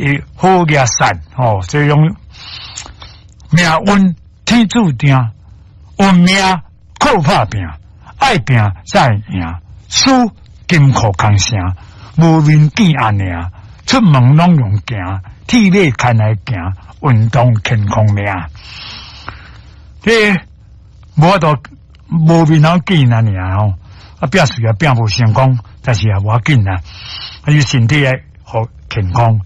伊好額散吼，這種命運天注定，運命靠拍拚，愛拚才會贏，輸金庫空城，無面見阿娘，出門攏用行，鐵馬牽來行，運動健康命。這無法度無面通見阿娘吼，啊，拼事業拼無成功，但是也無要緊啦，啊，你身體愛好健康，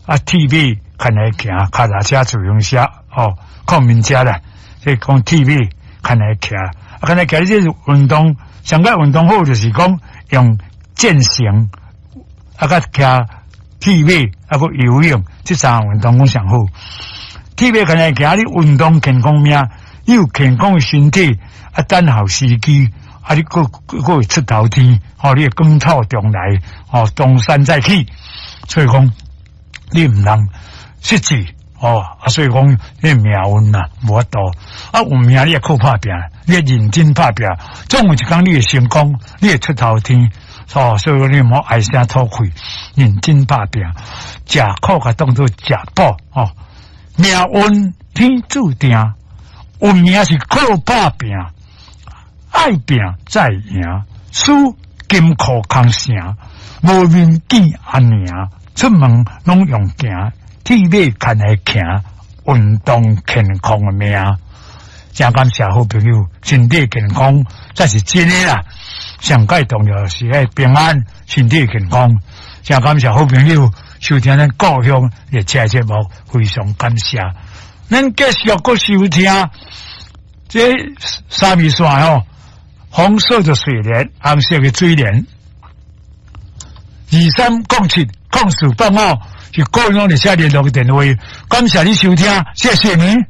啊，鐵馬牽來行，跤踏車、自行車，吼，抗面車啦，這講鐵馬牽來騎，啊，牽來騎，這是運動，上蓋運動好就是講用健行，啊，佮騎鐵馬，啊，閣游泳，這三項運動攏上好。鐵馬牽來行，你運動健康命，你有健康的身體，啊，等候時機，啊，你閣閣會出頭天，吼，你會捲土重來，吼，東山再起。所以講，你毋通失志，吼，啊，所以講，你命運啊，無法度，啊，有命你也靠拍拚，你認真拍拚，總有一工你會成功，你會出頭天，哦，所以講你毋好唉聲吐氣，認真拍拚，食苦共當做食補，吼，命運天注定，運命是靠拍拚，愛拚才會贏，輸金庫空城，無面見阿娘，出門攏用行，鐵馬牽來騎，運動健康的命。真感謝好朋友，身體健康才是真的啦。上蓋重要是愛平安，身體健康。真感謝好朋友收聽咱故鄉熱車節目，非常感謝。咱繼續閣收聽這三味線吼，紅色的水蓮，紅色的水蓮，23070485是故鄉熱車聯絡的電話。感謝你收聽，謝謝你。